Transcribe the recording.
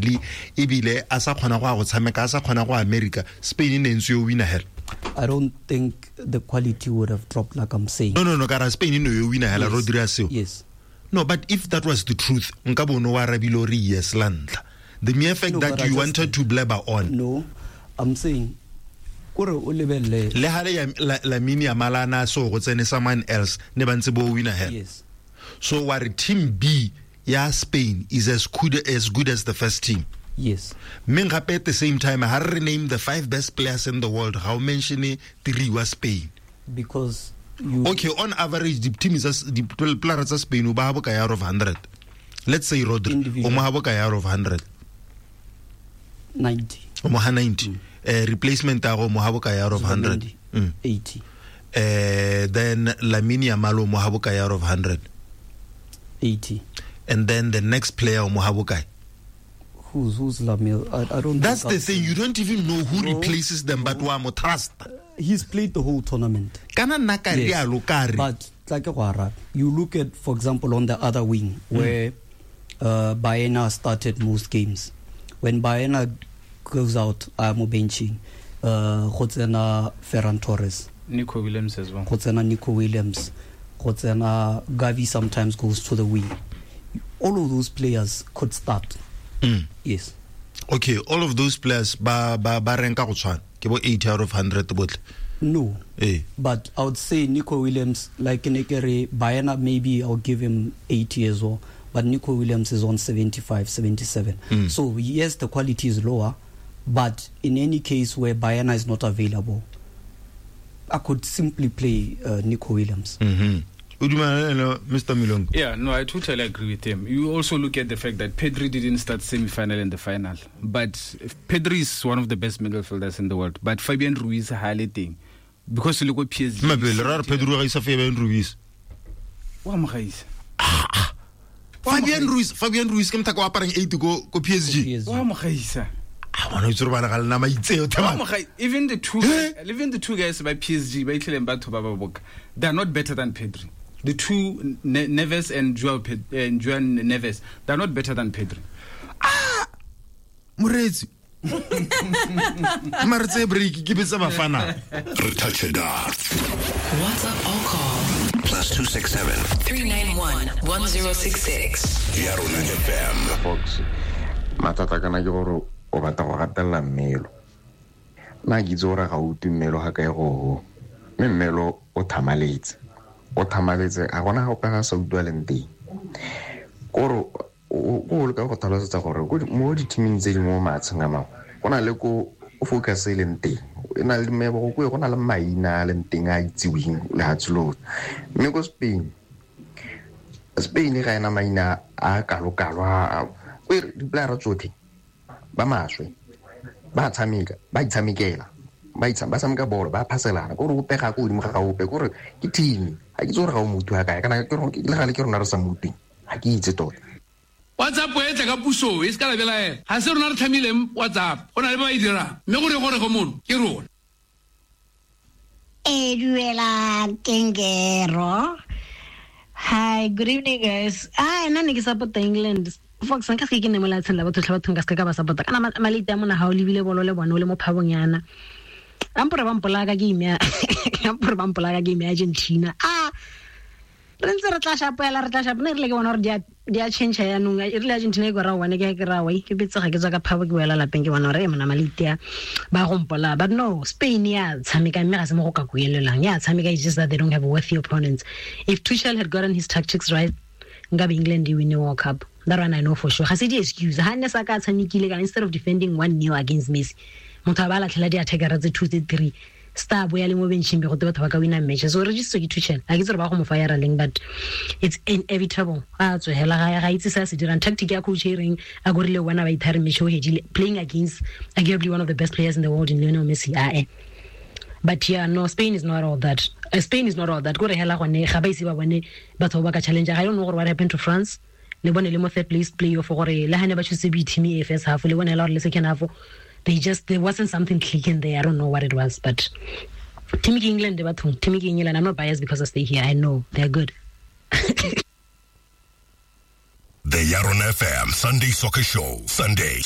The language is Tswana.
physically ebile a sa kgona go a go tshameka a sa kgona go America, Spain e ne ntse yo wina hela. I don't think the quality would have dropped like I'm saying. No, kara Spain e ne yo wina hela, Rodri a seo. Yes. No, but if that was the truth, nka bono wa arabile o re yes la ntlha. The mere fact No, that but I you just wanted to blabber on. No, I'm saying kore o lebelele Le ha le Lamine Yamal a na so go tsene someone else ne ba ntse bo wina hela. Yes. So wa re team B ya Spain is as good as the first team. Yes. Mme gape at the same time ha re name the 5 best players in the world, ga o mention 3 wa Spain. Because you Okay, on average the team is the players tsa Spain o ba bokae out of 100. Let's say Rodri o mo ha bokae out of 100. 90. O mo ha 90. Replacement ya go mo ha bokae out of 100. 80. Then Lamine Yamal o mo ha bokae out of 100. 80. And then the next player o mo ha bokae? Who's Lamine? I don't. That's the thing. You don't even know who replaces them, but wa mo trust. He's played the whole tournament. Kana nna ka rialo ka re. But like you look at, for example, on the other wing where Baena started most games. When Baena goes out, I'm benching. Go tsena Ferran Torres. Nico Williams as well. Go tsena Nico Williams. Go tsena Gavi sometimes goes to the wing. All of those players could start. Mm. Yes. Okay, all of those players ba ranka go tshwana. Ke bo 80 out of 100 botle. No. Eh. But I would say Nico Williams, like Nekere Baena, maybe I'll give him 80 as well. But Nico Williams is on 75, 77. Mm. So yes, the quality is lower, but in any case where Baena is not available, I could simply play Nico Williams. Mm-hmm. Mr. Milongo. Yeah, no, I totally agree with him. You also look at the fact that Pedri didn't start semi-final and the final. But Pedri is one of the best midfielders in the world. But Fabian Ruiz highlighting because you look at PSG. Pedri is Fabian Ruiz. Fabian Ruiz ke mthaka wa aparang 8 go PSG. Wa mo gaisa. Even the two guys by PSG, by Itleng batho ba ba boka, they are not better than Pedri. The two Neves and João Neves, they are not better than Pedri. Ah, Moretsi. Mare break ke betsa bafana. Re touch it up. WhatsApp or call +267 391 1066. Ya rona FM. Fox. Matata kana ke gore o batla go gatelela mmelo. Nna ke itse gore ga o utlwe mmelo ga kae go. Mme mmelo o thamaletse. O thamaletse ga gona ga ope ga sa utlwaleng teng. Kore o leka go tlhalosetsa gore mo di-teaming tse dingwe mo maatsheng a mangwe go na le ko o focus e leng teng. E na le mebogo ko go na le maina a leng teng a itseweng lehatshe lotlhe. Mme ko Spain ga ena maina a kalo-kalo a ko di-playera tsotlhe ba maswe ba tshameka ba itshamekela ba tshameka bolo ba phaselana kore o pega ko godimo ga ga ope kore ke team ga ke itse gore ga o motho ga kae kana ke le gale ke rona re sa mo utlweng ga ke itse tota. WhatsApp e tla ka puso e se ka la belaela ga se rona re tlhamileng WhatsApp go na le ba e dirang mme gore go mono ke rona. E duela Kengero. Hi, good evening guys. Nna ne ke support England. Fox nka se ke ne mo lefatsheng la batho tlha batho nka se ka ba support kana malete a mona ha o lebile bolo le bone o le mo phabong yana. Ampore ba mpolaka ke ime ampore ba mpolaka ke ime Argentina. Re ntse re tla shapela re tla shapa ne re le ke bona gore di a change yanong e rile Argentina e gora one ke ra wai ke betsega ke tswa ka phabo ke boela lapeng ke bona gore e mona malete a ba go mpola. But no, Spain ya tshameka mme ga se mo go ka kuelelang ya tshameka. It's just that they don't have worthy opponents. If Tuchel had gotten his tactics right, nkabe England e win the World Cup. That one I know for sure. Ga se di excuse ha ne sa ka tshamekile ka instead of defending 1-0 against Messi, motho a ba latlhela di attacker tse 2 tse 3 star boya le mo benching be go te batho ba ka wina match. So re just ke Tuchel a ke tsere ba go mo fire leng, but it's inevitable. A tswela ga itse se se dirang tactic ya coach e reng a gorile wena ba ithare match o hedile playing against arguably one of the best players in the world in Lionel Messi. But yeah, no, Spain is not all that. Spain is not all that. Go re hela gone ga ba ise ba bone batho ba ka challenge. I don't know what happened to France. Le bone le mo third place playoff gore le hane ba choose B team e first half le bone la gore le second half they just there wasn't something clicking there. I don't know what it was, but team England batho team England, I'm not biased because I stay here. I know they're good. The Yaron FM Sunday Soccer Show, Sunday